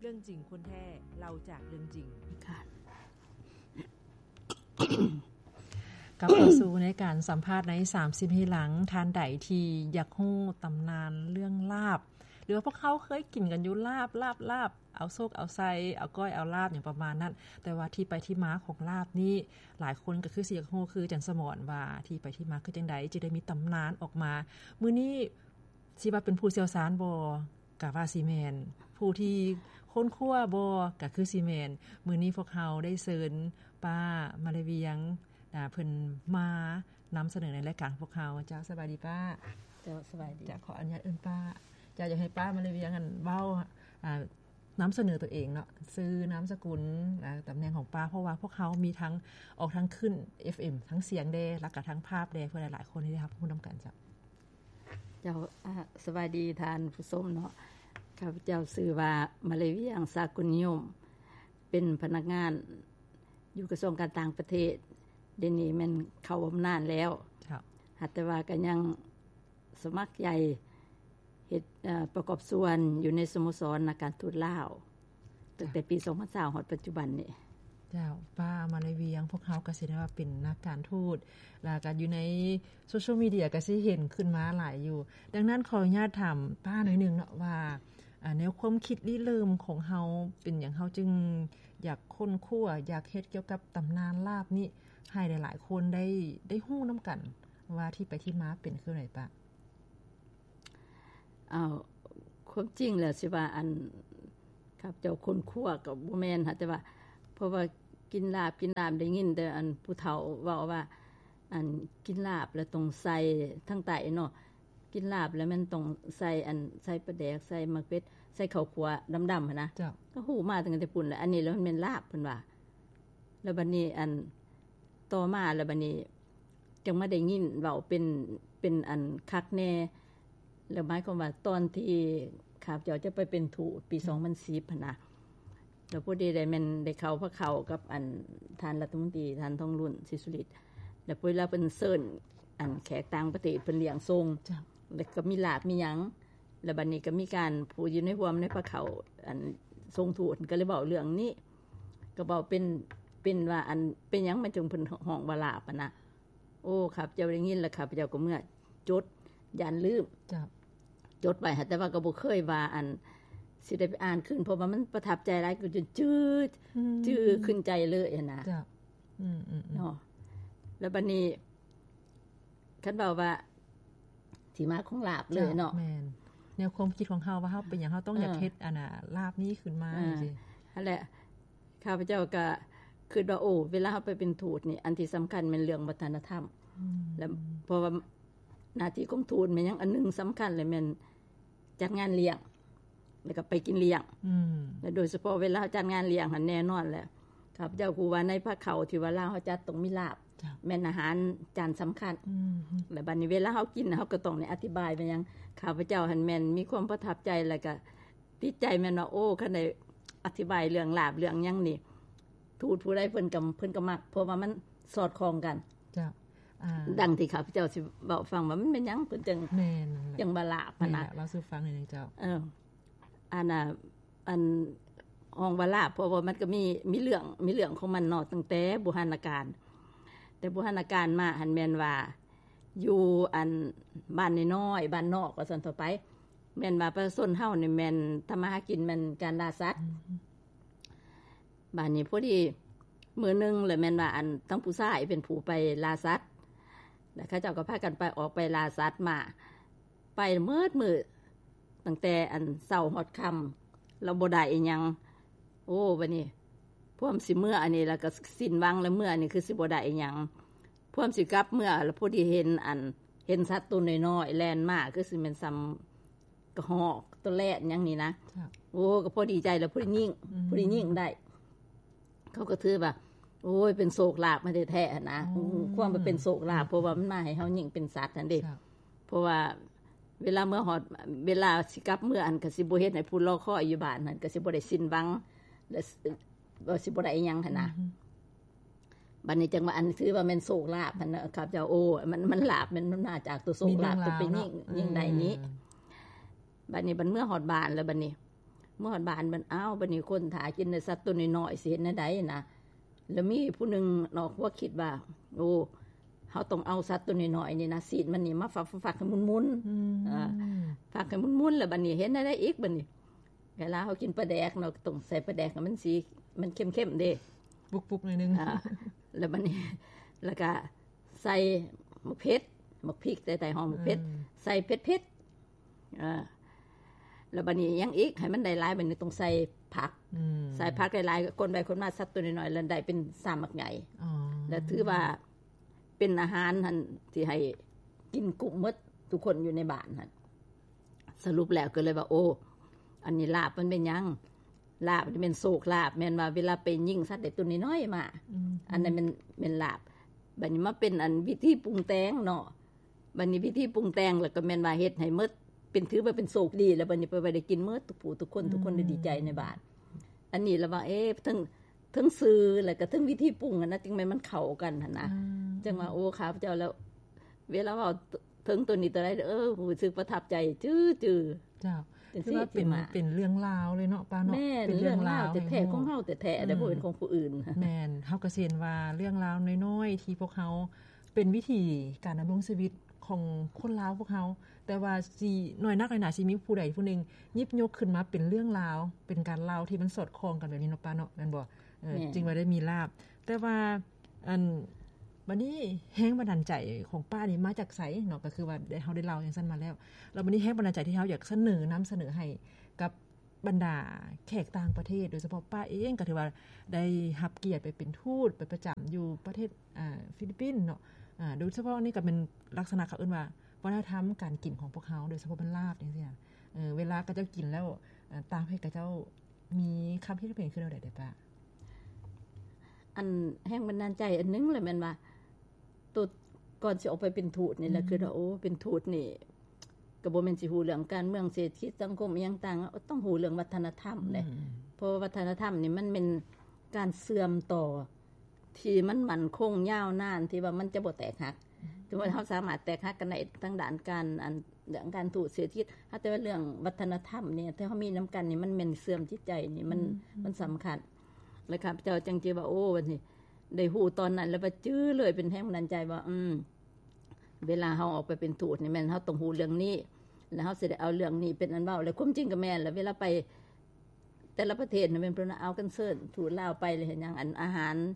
ເລື່ອງຈິງຄົນແທ້ ເລົ່າຈາກເລື່ອງຈິງ. ກັບເຂົ້າສູ່ໃນການສຳພາດໃນສາມສິບໃນຫຼັງ, ທ່ານໃດທີ່ຢາກຮູ້ຕຳນານເລື່ອງລາບ ຫຼືວ່າພວກເຮົາເຄີຍກິນກັນຢູ່ ລາບ ລາບ ລາບ ເອົາໂຊກເອົາໄຊ ເອົາກ້ອຍເອົາລາບ ຫຍັງປະມານນັ້ນ, ແຕ່ວ່າທີ່ໄປທີ່ມາຂອງລາບນີ້ ຫຼາຍຄົນກໍຄືຊິຢາກຮູ້ຄືຈັນສະໝອນວ່າ ທີ່ໄປທີ່ມາຄືຈັ່ງໃດ ຈຶ່ງໄດ້ມີຕຳນານອອກມາ. ມື້ນີ້ຊິວ່າເປັນຜູ້ຊ່ຽວຊານບໍ່? ກະວ່າຊິແມ່ນ. ຜູ້ທີ່ຄົ້ນຄວ້າບໍ່? ກະຄືຊິແມ່ນ. ມື້ນີ້ພວກເຮົາໄດ້ເຊີນປ້າມາລະວຽງ ອາ ເພິ່ນມານຳສະເໜີໃນລາຍການຂອງພວກເຮົາ. ເຈົ້າ ສະບາຍດີປ້າ. ເຈົ້າ ສະບາຍດີ. ເຈົ້າ ຂໍອະນຸຍາດເອີ້ນປ້າ. ເຈົ້າ ຢາກໃຫ້ປ້າມາລະວຽງ ອັນ ເວົ້າ ອາ ນຳສະເໜີຕົວເອງເນາະ, ຊື່ ນາມສະກຸນ ແລະ ຕຳແໜ່ງຂອງປ້າ, ເພາະວ່າພວກເຮົາມີທັງອອກທັງຄື້ນ ເອັຟເອັມ ທັງສຽງແດ່ ແລ້ວກະທັງພາບແດ່ ເພື່ອຫຼາຍໆຄົນໄດ້ຮັບຮູ້ນຳກັນ. ເຈົ້າ ເຈົ້າ ອາ ສະບາຍດີທ່ານຜູ້ຊົມເນາະ, ຂ້າພະເຈົ້າຊື່ວ່າ ມາລະວຽງ ສາກຸນນິຍົມ, ເປັນພະນັກງານຢູ່ກະຊວງການຕ່າງປະເທດ, ດຽວນີ້ແມ່ນເຂົ້າບຳນານແລ້ວ. ເຈົ້າ. ຫາກແຕ່ວ່າກໍຍັງສະໝັກໃຈ ເຮັດ ເອີ ປະກອບສ່ວນຢູ່ໃນສະໂມສອນນັກການທູດລາວ ຕັ້ງແຕ່ປີສອງພັນຊາວຮອດປັດຈຸບັນນີ້. ເຈົ້າ ປ້າມາລະວຽງ ພວກເຮົາກໍຊິໄດ້ວ່າເປັນນັກການທູດ ແລ້ວກໍຢູ່ໃນໂຊຊຽວມີເດຍກໍຊິເຫັນຂຶ້ນມາຫຼາຍຢູ່. ດັ່ງນັ້ນຂໍອະນຸຍາດຖາມປ້າໜ້ອຍໜຶ່ງເນາະວ່າ ອາ ແນວຄວາມຄິດລິເລີ່ມຂອງເຮົາເປັນຫຍັງ ເຮົາຈຶ່ງຢາກຄົ້ນຄວ້າ ຢາກເຮັດກ່ຽວກັບຕຳນານລາບນີ້ ໃຫ້ຫຼາຍໆຄົນໄດ້ ໄດ້ຮູ້ນຳກັນວ່າທີ່ໄປທີ່ມາເປັນຄືໃດປ້າ? ເອົາ ຄວາມຈິງແລ້ວຊິວ່າ ອັນ ຂ້າພະເຈົ້າຄົ້ນຄວ້າກໍບໍ່ແມ່ນຫາ ແຕ່ວ່າ ເພາະວ່າກິນລາບ ກິນລາບ ໄດ້ຍິນແຕ່ອັນຜູ້ເຖົ້າເວົ້າວ່າ ອັນ ກິນລາບແລ້ວຕ້ອງໃສ່ ທາງໃຕ້ເນາະ ກິນລາບແລ້ວແມ່ນຕ້ອງໃສ່ ອັນ ໃສ່ປາແດກ ໃສ່ໝາກເຜັດ ໃສ່ເຂົ້າຂົ້ວດຳໆຫັ້ນນະ. ເຈົ້າ. ກໍຮູ້ມາຕັ້ງແຕ່ພຸ້ນແຫຼະ ອັນນີ້ແລ້ວມັນແມ່ນລາບ ເພິ່ນວ່າ. ແລ້ວບັດນີ້ ອັນ ຕໍ່ມາແລ້ວບັດນີ້ ຈັ່ງມາໄດ້ຍິນເວົ້າເປັນ ເປັນອັນຄັກແນ່. ແລ້ວໝາຍຄວາມວ່າຕອນທີ່ຂ້າພະເຈົ້າຈະໄປເປັນທູດປີ ອືມ ສອງພັນສິບຫັ້ນນະ ແລ້ວພໍດີໄດ້ແມ່ນໄດ້ເຂົ້າພະເຂົ້າກັບອັນທ່ານລັດຖະມົນຕີ ທ່ານ ທອງລຸນ ສີສຸລິດ ແລ້ວເວລາເພິ່ນເຊີນອັນແຂກຕ່າງປະເທດ ເພິ່ນລ້ຽງສົ່ງ. ເຈົ້າ. ແລ້ວກໍມີລາບມີຫຍັງ ແລ້ວບັດນີ້ກໍມີການຜູ້ຢູ່ໃນຮ່ວມໃນພະເຂົ້າ ອັນຊົງທູດ ກໍເລີຍເວົ້າເລື່ອງນີ້ ກໍເວົ້າເປັນ ເປັນວ່າ ອັນ ເປັນຫຍັງມັນຈຶ່ງເພິ່ນຮ້ອງວ່າລາບຫັ້ນນະ. ໂອ້ ຂ້າພະເຈົ້າໄດ້ຍິນແລ້ວ ຂ້າພະເຈົ້າກໍເມືອຈົດ ຢ້ານລືມ. ເຈົ້າ. ຈົດໄວ້ ແຕ່ວ່າກໍບໍ່ເຄີຍວ່າ ອັນ ຊິໄດ້ໄປອ່ານຄືນ ເພາະວ່າມັນປະທັບໃຈຫຼາຍ ກໍຈົນຈື່ ອືມ ຈື່ຂຶ້ນໃຈເລີຍຫັ້ນນະ. ເຈົ້າ. ອືມໆໆ ເນາະ ແລ້ວບັດນີ້ ຄັນເວົ້າວ່າທີ່ມາຂອງລາບເລີຍເນາະ. ເຈົ້າ ແມ່ນ ແນວຄວາມຄິດຂອງເຮົາວ່າເຮົາເປັນຫຍັງເຮົາຕ້ອງ ເອີ ຢາກເຮັດອັນນ່າລາບນີ້ຂຶ້ນມາ ເອີ ຈັ່ງຊີ້. ຫັ້ນແຫຼະ ຂ້າພະເຈົ້າກໍຄິດວ່າ ໂອ້ ເວລາເຮົາໄປເປັນທູດນີ້ ອັນທີ່ສຳຄັນແມ່ນເລື່ອງວັດທະນະທຳ. ອືມ ແລ້ວເພາະວ່າໜ້າທີ່ຂອງທູດແມ່ນຫຍັງ ອັນໜຶ່ງສຳຄັນເລີຍແມ່ນຈັດງານລ້ຽງ ແລ້ວກໍໄປກິນລ້ຽງ. ອືມ ແລະໂດຍສະເພາະເວລາເຮົາຈັດງານລ້ຽງຫັ້ນ ແນ່ນອນແຫຼະ ຂ້າພະເຈົ້າຮູ້ວ່າໃນພະເຂົ້າທີ່ວ່າລາວເຮົາຈັດຕ້ອງມີລາບ. ເຈົ້າ. ແມ່ນອາຫານຈານສຳຄັນ. ອືມ ແລະບັດນີ້ເວລາເຮົາກິນ ເຮົາກໍຕ້ອງໄດ້ອະທິບາຍວ່າຫຍັງ. ຂ້າພະເຈົ້າຫັ້ນແມ່ນມີຄວາມປະທັບໃຈ ແລ້ວກໍຕິດໃຈແມ່ນວ່າ ໂອ້ ຄັນໄດ້ອະທິບາຍເລື່ອງລາບເລື່ອງຫຍັງນີ້ ທູດຜູ້ໃດເພິ່ນກໍ ເພິ່ນກໍມັກ ເພາະວ່າມັນສອດຄ່ອງກັນ. ເຈົ້າ. ອ່າ ດັ່ງທີ່ຂ້າພະເຈົ້າຊິເວົ້າຟັງວ່າມັນແມ່ນຫຍັງເພິ່ນຈັ່ງ ແມ່ນ ຈັ່ງວ່າລາບຫັ້ນນະ. ແມ່ນແຫຼະ ເລົ່າສູ່ຟັງໜ້ອຍໜຶ່ງເຈົ້າ. ເອີ ອັນນ່າ ອັນ ຮ້ອງວ່າລາບ ເພາະວ່າມັນກໍມີ ມີເລື່ອງ ມີເລື່ອງຂອງມັນເນາະ ຕັ້ງແຕ່ບູຮານນະການ. ແຕ່ບູຮານນະການມາຫັ້ນແມ່ນວ່າ ຢູ່ອັນ ບ້ານນ້ອຍໆ ບ້ານນອກ ວ່າຊັ້ນເຖາະໄປ ແມ່ນວ່າປະຊາຊົນເຮົານີ້ແມ່ນທຳມາຫາກິນແມ່ນການລ່າສັດ. ອືມ ບາດນີ້ພໍດີມື້ໜຶ່ງ ແລ້ວແມ່ນວ່າ ອັນ ທັງຜູ້ຊາຍເປັນຜູ້ໄປລ່າສັດ ແລ້ວເຂົາເຈົ້າກໍພາກັນໄປ ອອກໄປລ່າສັດມາ ໄປໝົດມື້ ຕັ້ງແຕ່ ອັນ ເຊົ້າຮອດຄ່ຳ ແລ້ວບໍ່ໄດ້ອີ່ຫຍັງ. ໂອ້ ບາດນີ້ພວມຊິເມືອອັນນີ້ ແລ້ວກໍສິ້ນຫວັງ ແລ້ວເມືອນີ້ຄືຊິບໍ່ໄດ້ອີ່ຫຍັງ. ພວມຊິກັບເມືອ ແລ້ວພໍດີເຫັນ ອັນ ເຫັນສັດໂຕນ້ອຍໆແລ່ນມາ ຄືຊິແມ່ນສ່ຳ ກະຮອກ ໂຕແລດຫຍັງນີ້ນະ. ເຈົ້າ. ໂອ້ ກໍພໍດີໃຈແລ້ວ ພໍໄດ້ຍິງ ອືມ ພໍໄດ້ຍິງໄດ້ ເຂົາກໍຖືວ່າ ໂອ້ຍ ເປັນໂຊກລາບມາແທ້ໆຫັ້ນນະ. ອໍ ຄວາມວ່າເປັນໂຊກລາບ ເພາະວ່າມັນມາໃຫ້ເຮົາຍິງເປັນສັດຫັ້ນເດ້. ເຈົ້າ. ເພາະວ່າເວລາເມືອຮອດ ເວລາຊິກັບເມືອຫັ້ນ ກໍຊິບໍ່ເຮັດໃຫ້ຜູ້ລໍຄອຍຢູ່ບ້ານຫັ້ນ ກໍຊິບໍ່ໄດ້ສິ້ນຫວັງ ແລະ ວ່າຊິບໍ່ໄດ້ອີ່ຫຍັງຫັ້ນນະ. ອືມ ບາດນີ້ຈັ່ງວ່າ ອັນ ຖືວ່າແມ່ນໂຊກລາບຫັ້ນນະ ຂ້າພະເຈົ້າ. ໂອ້ ມັນ ມັນລາບ ແມ່ນ ມັນມາຈາກຕົວໂຊກລາບ ມີເລື່ອງລາວ ຕົວໄປຍິງ ເນາະ ຍິງໄດ້ນີ້. ອືມ ບາດນີ້ບັດເມືອຮອດບ້ານແລ້ວ ບາດນີ້ ເມື່ອຮອດບ້ານມັນ ອ້າວ ບັດນີ້ຄົນຖ້າກິນແຕ່ສັດຕົວນ້ອຍໆ ຊິເຮັດແນວໃດນະ? ແລ້ວມີຜູ້ໜຶ່ງນອກຫົວຄິດວ່າ ໂອ້ ເຮົາຕ້ອງເອົາສັດຕົວນ້ອຍໆນີ້ນະ ຊີ້ນມັນນີ້ມາຟັກໆໆ ໃຫ້ໝຸ່ນໆ ອືມ ອ່າ ຟັກໃຫ້ໝຸ່ນໆ ແລ້ວບັດນີ້ເຮັດແນວໃດອີກ? ບັດນີ້ເວລາເຮົາກິນປາແດກເນາະ ຕ້ອງໃສ່ປາແດກໃຫ້ມັນສີ ມັນເຂັ້ມໆເດ້ ປຸກໆໜ້ອຍໜຶ່ງ ອ່າ ແລ້ວບັດນີ້ ແລ້ວກະໃສ່ໝາກເຜັດ ໝາກພິກ ແຕ່ໄທຮ້ອງໝາກເຜັດ ອືມ ໃສ່ເຜັດໆ ອ່າ ແລ້ວບັດນີ້ຫຍັງອີກ? ໃຫ້ມັນໄດ້ຫຼາຍ ບັດນີ້ຕ້ອງໃສ່ຜັກ ອືມ ໃສ່ຜັກຫຼາຍໆ ຄົນໄປຄົນມາ ສັດຕົວນ້ອຍໆ ແລ້ວໄດ້ເປັນຊາມໝາກໃຫຍ່ ອໍ ແລ້ວຖືວ່າເປັນອາຫານຫັ້ນ ທີ່ໃຫ້ກິນກຸ້ມໝົດທຸກຄົນຢູ່ໃນບ້ານຫັ້ນ. ສະຫຼຸບແລ້ວກໍເລີຍວ່າ ໂອ້ ອັນນີ້ລາບມັນເປັນຫຍັງ? ລາບນີ້ແມ່ນໂຊກລາບ ແມ່ນວ່າເວລາໄປຍິງສັດໄດ້ຕົວນ້ອຍໆມາ ອືມ ອັນນັ້ນແມ່ນ ແມ່ນລາບ. ບັດນີ້ມາເປັນອັນວິທີປຸງແຕ່ງເນາະ ບັດນີ້ວິທີປຸງແຕ່ງ ແລ້ວກໍແມ່ນວ່າເຮັດໃຫ້ໝົດ ເປັນ ຖືວ່າເປັນໂຊກດີ ແລ້ວບັດນີ້ໄປ ໄປໄດ້ກິນໝົດທຸກຜູ້ທຸກຄົນ ອືມ ທຸກຄົນໄດ້ດີໃຈໃນບ້ານ. ອັນນີ້ລະວ່າ ເອ ເຖິງ ເຖິງຊື່ ແລ້ວກໍເຖິງວິທີປຸງຫັ້ນນະ ຈຶ່ງແມ່ນມັນເຂົ້າກັນຫັ້ນນະ ອືມ ຈັ່ງວ່າ ໂອ້ ຂ້າພະເຈົ້າແລ້ວ ເວລາເວົ້າເຖິງໂຕນີ້ໂຕໃດ ເອີ ຮູ້ສຶກປະທັບໃຈຈື່ໆ ເຈົ້າ ຖືວ່າເປັນ ເປັນເລື່ອງລາວເລີຍເນາະ ປ້າເນາະ ແມ່ນ ເປັນເລື່ອງລາວແທ້ໆ ຂອງເຮົາແທ້ໆ ອືມ ບໍ່ແມ່ນຂອງຜູ້ອື່ນ ແມ່ນ ເຮົາກໍຊິເຫັນວ່າເລື່ອງລາວນ້ອຍໆ ທີ່ພວກເຮົາ ເປັນວິຖີການດຳລົງຊີວິດຂອງຄົນລາວພວກເຮົາ ແຕ່ວ່າຊິ ໜ້ອຍນັກໜ້ອຍໜາຊິມີຜູ້ໃດຜູ້ໜຶ່ງຫຍິບຍົກຂຶ້ນມາເປັນເລື່ອງລາວ ເປັນການເລົ່າທີ່ມັນສອດຄ່ອງກັນແບບນີ້ເນາະ ປ້າເນາະ ແມ່ນບໍ່? ເອີ ແມ່ນ ຈຶ່ງວ່າໄດ້ມີລາບ. ແຕ່ວ່າ ອັນ ບັດນີ້ແຮງບັນດານໃຈຂອງປ້ານີ້ມາຈາກໃສເນາະ? ກໍຄືວ່າໄດ້ ເຮົາໄດ້ເລົ່າຈັ່ງຊັ້ນມາແລ້ວ ແລ້ວບັດນີ້ແຮງບັນດານໃຈທີ່ເຮົາຢາກສະເໜີ ນຳສະເໜີໃຫ້ກັບ ບັນດາແຂກຕ່າງປະເທດ ໂດຍສະເພາະປ້າເອງກໍຖືວ່າໄດ້ຮັບກຽດໄປເປັນທູດ ໄປປະຈຳຢູ່ປະເທດ ອ່າ ຟີລິບປິນເນາະ ອ່າ ໂດຍສະເພາະນີ້ກໍເປັນລັກສະນະເຂົາເອີ້ນວ່າວັດທະນະທຳການກິນຂອງພວກເຮົາ ໂດຍສະເພາະເປັນລາບຈັ່ງຊີ້ນະ ເອີ ເວລາເຂົາເຈົ້າກິນແລ້ວ ອ່າ ຕ່າງປະເທດເຂົາເຈົ້າມີຄຳຄິດເຫັນຄືແນວໃດເດປ້າ? ອັນແຮງບັນດານໃຈອັນໜຶ່ງລະແມ່ນວ່າ ໂຕ ກ່ອນຊິອອກໄປເປັນທູດນີ້ລະ ອືມ ຄິດວ່າ ໂອ້ ເປັນທູດນີ້ ກໍບໍ່ແມ່ນຊິຮູ້ເລື່ອງການເມືອງ ເສດຖະກິດ ສັງຄົມ ອີ່ຫຍັງຕ່າງ ຕ້ອງຮູ້ເລື່ອງວັດທະນະທຳເດ້ ອືມ ເພາະວ່າວັດທະນະທຳນີ້ມັນແມ່ນການເຊື່ອມຕໍ່ທີ່ມັນໝັ້ນຄົງຍາວນານ ທີ່ວ່າມັນຈະບໍ່ແຕກຫັກ ອືມ ສົມມຸດເຮົາສາມາດແຕກຫັກກັນໄດ້ທາງດ້ານການ ອັນ ເລື່ອງການທູດ ເສດຖະກິດ ແຕ່ວ່າເລື່ອງວັດທະນະທຳນີ້ ທີ່ເຮົາມີນຳກັນນີ້ ມັນແມ່ນເຊື່ອມຈິດໃຈນີ້ ມັນ ອືມ ມັນສຳຄັນ ແລະ ຂ້າພະເຈົ້າຈັ່ງຈື່ວ່າ ໂອ້ ບັດນີ້ ໄດ້ຮູ້ຕອນນັ້ນແລ້ວວ່າຈື່ເລີຍ ເປັນແຮງບັນດານໃຈວ່າ ອືມ ເວລາເຮົາອອກໄປເປັນທູດນີ້ ແມ່ນເຮົາຕ້ອງຮູ້ເລື່ອງນີ້ ແລ້ວເຮົາຊິໄດ້ເອົາເລື່ອງນີ້ເປັນອັນເວົ້າ ແລະ ຄວາມຈິງກໍແມ່ນລະ ເວລາໄປແຕ່ລະປະເທດນະ ແມ່ນເພິ່ນເອົາກັນເຊີນທູດລາວໄປ ແລ້ວເຮັດຫຍັງ ອັນອາຫານ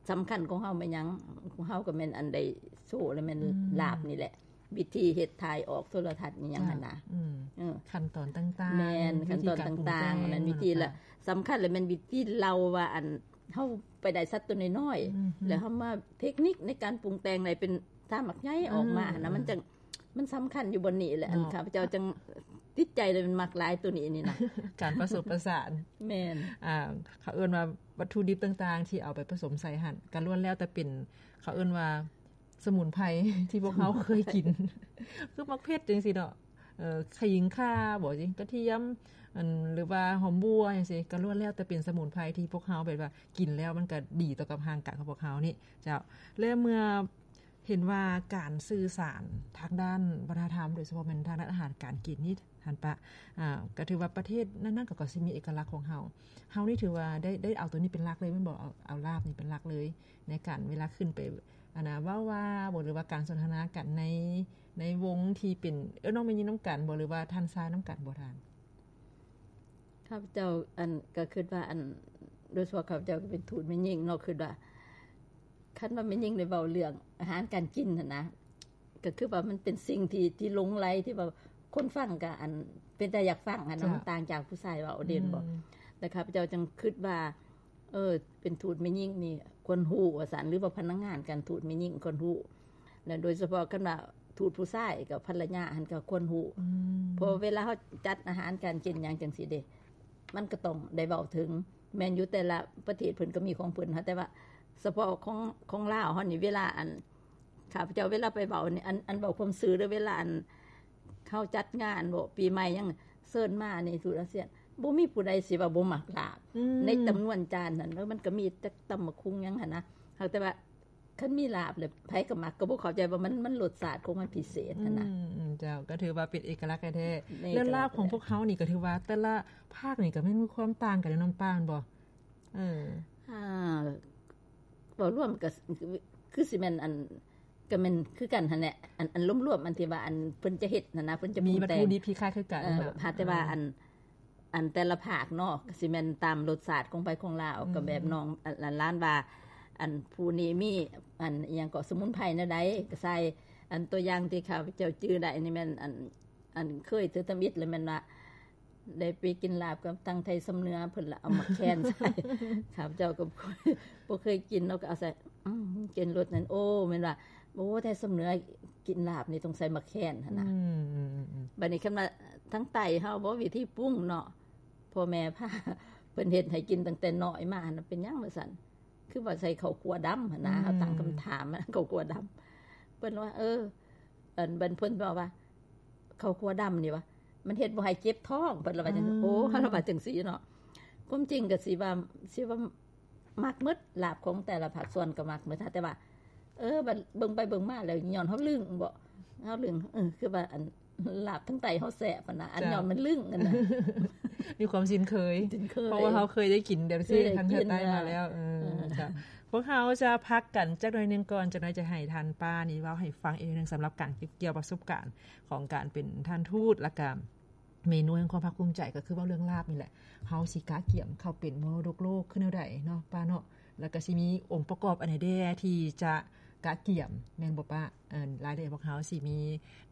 ສຳຄັນຂອງເຮົາແມ່ນຫຍັງ? ຂອງເຮົາກໍແມ່ນອັນໄດ້ໂຊ ແລະ ແມ່ນ ອືມ ລາບນີ້ແຫຼະ ວິທີເຮັດ ຖ່າຍອອກໂທລະທັດ ອີ່ຫຍັງຫັ້ນນະ ອືມ ເອີ ຂັ້ນຕອນຕ່າງໆ ແມ່ນ ຂັ້ນຕອນຕ່າງໆ ອັນນັ້ນວິທີລະ ສຳຄັນລະແມ່ນວິທີເລົ່າວ່າ ອັນ ເຮົາໄປໄດ້ສັດຕົວນ້ອຍໆ ອືມ ແລ້ວເຮົາມາເທັກນິກໃນການປຸງແຕ່ງໃຫ້ເປັນຊາໝາກໃຫຍ່ອອກມາຫັ້ນນະ ອືມ ມັນຈັ່ງ ມັນສຳຄັນຢູ່ບ່ອນນີ້ແຫຼະ ເນາະ ອັນຂ້າພະເຈົ້າຈັ່ງຕິດໃຈ ແລະ ມັກຫຼາຍຕົວນີ້ນີ້ນະ ການປະສົມປະສານ ແມ່ນ ອ່າ ເຂົາເອີ້ນວ່າວັດຖຸດິບຕ່າງໆ ທີ່ເອົາໄປປະສົມໃສ່ຫັ້ນ ກໍລ້ວນແລ້ວແຕ່ເປັນ ເຂົາເອີ້ນວ່າ ສະໝຸນໄພທີ່ພວກເຮົາເຄີຍກິນ ຄືໝາກເຜັດຈັ່ງຊີ້ເນາະ ເອີ ຂະຫຍິງຂ່າບໍ ກະທຽມ ອັນ ຫຼືວ່າຫອມບົ່ວຈັ່ງຊີ້ ກໍລ້ວນແລ້ວແຕ່ເປັນສະໝຸນໄພທີ່ພວກເຮົາແບບວ່າກິນແລ້ວມັນກໍດີຕໍ່ກັບຮ່າງກາຍຂອງພວກເຮົານີ້ເຈົ້າ. ແລະເມື່ອເຫັນວ່າການສື່ສານທາງດ້ານວັດທະນະທຳ ໂດຍສະເພາະແມ່ນທາງດ້ານອາຫານການກິນນີ້ ທ່ານປະ ອ່າ ກໍຖືວ່າປະເທດນັ້ນໆ ກໍ ກໍຊິມີເອກະລັກຂອງເຮົາ. ເຮົານີ້ຖືວ່າໄດ້ ໄດ້ເອົາໂຕນີ້ເປັນຫຼັກເລີຍແມ່ນບໍ່? ເອົາ ເອົາລາບນີ້ເປັນຫຼັກເລີຍ ໃນການເວລາຂຶ້ນໄປ ອັນນ່າ ເວົ້າວ່າບໍ ຫຼືວ່າການສົນທະນາກັນໃນ ໃນວົງທີ່ເປັນເອື້ອຍນ້ອງແມ່ຍິງນຳກັນບໍ ຫຼືວ່າທ່ານຊາຍນຳກັນບໍທ່ານ? ຂ້າພະເຈົ້າ ອັນ ກໍຄິດວ່າ ອັນ ໂດຍສະເພາະຂ້າພະເຈົ້າກໍເປັນທູດແມ່ຍິງເນາະ ຄິດວ່າ ຄັນວ່າແມ່ຍິງໄດ້ເວົ້າເລື່ອງອາຫານການກິນຫັ້ນນະ ກໍຄືວ່າມັນເປັນສິ່ງທີ່ ທີ່ຫຼົງໄຫຼ ທີ່ວ່າຄົນຟັງກໍ ອັນ ເປັນຕາຢາກຟັງຫັ້ນນະ ເຈົ້າ ມັນຕ່າງຈາກຜູ້ຊາຍເວົ້າເດ້ ອືມ ແມ່ນບໍ່? ແລ້ວຂ້າພະເຈົ້າຈຶ່ງຄິດວ່າ ເອີ ເປັນທູດແມ່ຍິງນີ້ຄວນຮູ້ວ່າຊັ້ນ ຫຼືວ່າພະນັກງານການທູດແມ່ຍິງຄວນຮູ້ ແລະ ໂດຍສະເພາະຄັນວ່າທູດຜູ້ຊາຍກັບພັນລະຍາຫັ້ນກໍຄວນຮູ້ ອືມ ເພາະເວລາເຮົາຈັດອາຫານການກິນຫຍັງຈັ່ງຊີ້ເດ້ ມັນກໍຕ້ອງໄດ້ເວົ້າເຖິງ ແມ່ນຢູ່ແຕ່ລະປະເທດເພິ່ນກໍມີຂອງເພິ່ນ ແຕ່ວ່າສະເພາະຂອງ ຂອງລາວເຮົານີ້ ເວລາ ອັນ ຂ້າພະເຈົ້າເວລາໄປເວົ້ານີ້ ອັນ ອັນເວົ້າຄວາມຊື່ເດີ ເວລາ ອັນ ເຮົາຈັດງານບໍ ປີໃໝ່ຫຍັງ ເຊີນມານີ້ ທູດອາຊຽນ ບໍ່ມີຜູ້ໃດຊິວ່າບໍ່ມັກລາບ ອືມ ໃນຈຳນວນຈານນັ້ນ ເອີ ມັນກໍມີແຕ່ຕຳບັກຫຸ່ງຫຍັງຫັ້ນນະ ຫາກແຕ່ວ່າ ຄັນມີລາບແລ້ວໃຜກໍມັກ ກໍບໍ່ເຂົ້າໃຈວ່າມັນ ມັນລົດຊາດຂອງມັນພິເສດຫັ້ນນະ. ອືມ ເຈົ້າ ກໍຖືວ່າເປັນເອກະລັກແທ້ໆ. ແລ້ວລາບຂອງພວກເຮົານີ້ກໍຖືວ່າແຕ່ລະພາກນີ້ກໍແມ່ນມີຄວາມຕ່າງກັນເນາະ ນ້ອງປານບໍ່? ເອີ ອ່າ ເວົ້າລວມກໍຄືຊິແມ່ນອັນ ກໍແມ່ນຄືກັນຫັ້ນແຫຼະ ອັນ ອັນລວມໆ ອັນທີ່ວ່າອັນເພິ່ນຈະເຮັດຫັ້ນນະ ເພິ່ນຈະປຸງແຕ່ງ ມີວັດຖຸດິບທີ່ຄ້າຍຄືກັນ ເອີ ຫາກແຕ່ວ່າອັນ ອັນແຕ່ລະພາກເນາະ ກໍຊິແມ່ນຕາມລົດຊາດຂອງໃຜຂອງລາວ. ອືມ ກໍແບບນ້ອງ ອັນ ຫຼານວ່າ ອັນຜູ້ນີ້ມີອັນອີ່ຫຍັງເກາະ ສະໝຸນໄພແນວໃດກໍໃສ່. ອັນຕົວຢ່າງທີ່ຂ້າພະເຈົ້າຈື່ໄດ້ນີ້ແມ່ນ ອັນ ອັນເຄີຍເທື່ອທຳອິດ ແລ້ວແມ່ນວ່າ ໄດ້ໄປກິນລາບກັບທາງໄທຊຳເໜືອ ເພິ່ນລະເອົາໝາກແຄນໃສ່. ຂ້າພະເຈົ້າກໍບໍ່ເຄີຍ ບໍ່ເຄີຍກິນເນາະ ກໍເອົາໃສ່ ອືມ ກິນລົດນັ້ນ ໂອ້ ແມ່ນວ່າ ໂອ້ ໄທຊຳເໜືອກິນລາບນີ້ຕ້ອງໃສ່ໝາກແຄນຫັ້ນນະ. ອືມໆໆໆ ບັດນີ້ຄັນວ່າທາງໃຕ້ເຮົາບໍ່ ວິທີປຸງເນາະ ພໍ່ແມ່ພາເພິ່ນເຮັດໃຫ້ກິນຕັ້ງແຕ່ນ້ອຍມາຫັ້ນນະ ເປັນຫຍັງວ່າຊັ້ນ ຄືວ່າໃສ່ເຂົ້າຂົ້ວດຳຫັ້ນນະ. ອືມ ເຮົາຕັ້ງຄຳຖາມ ເຂົ້າຂົ້ວດຳ ເພິ່ນວ່າ ເອີ ອັນບັນເພິ່ນເວົ້າວ່າ ເຂົ້າຂົ້ວດຳນີ້ວ່າ ມັນເຮັດບໍ່ໃຫ້ເຈັບທ້ອງ ເພິ່ນລະວ່າຈັ່ງ. ອືມ ໂອ້ ເຮົາລະວ່າຈັ່ງຊີ້ເນາະ. ຄວາມຈິງກໍຊິວ່າ ຊິວ່າມັກໝົດ ລາບຂອງແຕ່ລະພາກສ່ວນກໍມັກໝົດ ແຕ່ວ່າ ເອີ ບັດເບິ່ງໄປເບິ່ງມາແລ້ວ ຍ້ອນເຮົາລຶ້ງບໍ ເຮົາລຶ້ງ ເອີ ຄືວ່າອັນລາບທາງໃຕ້ເຮົາແຊບຫັ້ນນະ ອັນ ເຈົ້າ ຍ້ອນມັນລຶ້ງຫັ້ນນະ ມີຄວາມຊິນເຄີຍ ຊິນເຄີຍ ເພາະວ່າເຮົາເຄີຍໄດ້ກິນແບບຊີ້ ເຄີຍໄດ້ກິນ ທາງເທິງໃຕ້ມາແລ້ວ. ເອີ ເອີ ເຈົ້າ ພວກເຮົາຈະພັກກັນຈັກໜ້ອຍໜຶ່ງກ່ອນ ຈັກໜ້ອຍຈະໃຫ້ທ່ານປ້ານີ້ເວົ້າໃຫ້ຟັງອີກໜຶ່ງ ສຳລັບການເກັບກ່ຽວປະສົບການຂອງການເປັນທ່ານທູດ ແລະກະເມນູແຫ່ງຄວາມພາກພູມໃຈ ກໍຄືເວົ້າເລື່ອງລາບນີ້ແຫຼະ. ເຮົາຊິກະກຽມເຂົ້າເປັນມໍລະດົກໂລກຄືແນວໃດເນາະ ປ້າເນາະ? ແລະກະຊິມີອົງປະກອບອັນໃດແດ່ທີ່ຈະກະກຽມ ແມ່ນບໍ່ປ້າ? ເອີ ລາຍລະອຽດພວກເຮົາຊິມີ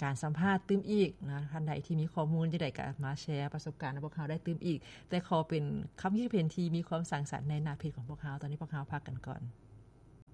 ການສຳພາດຕື່ມອີກນະ ທ່ານໃດທີ່ມີຂໍ້ມູນຈັ່ງໃດກະມາແຊປະສົບການໃຫ້ພວກເຮົາໄດ້ຕື່ມອີກ ແຕ່ຂໍເປັນຄຳຄິດເຫັນທີ່ມີຄວາມສ້າງສັນໃນໜ້າເພຈຂອງພວກເຮົາ. ຕອນນີ້ພວກເຮົາພັກກັນກ່ອນ.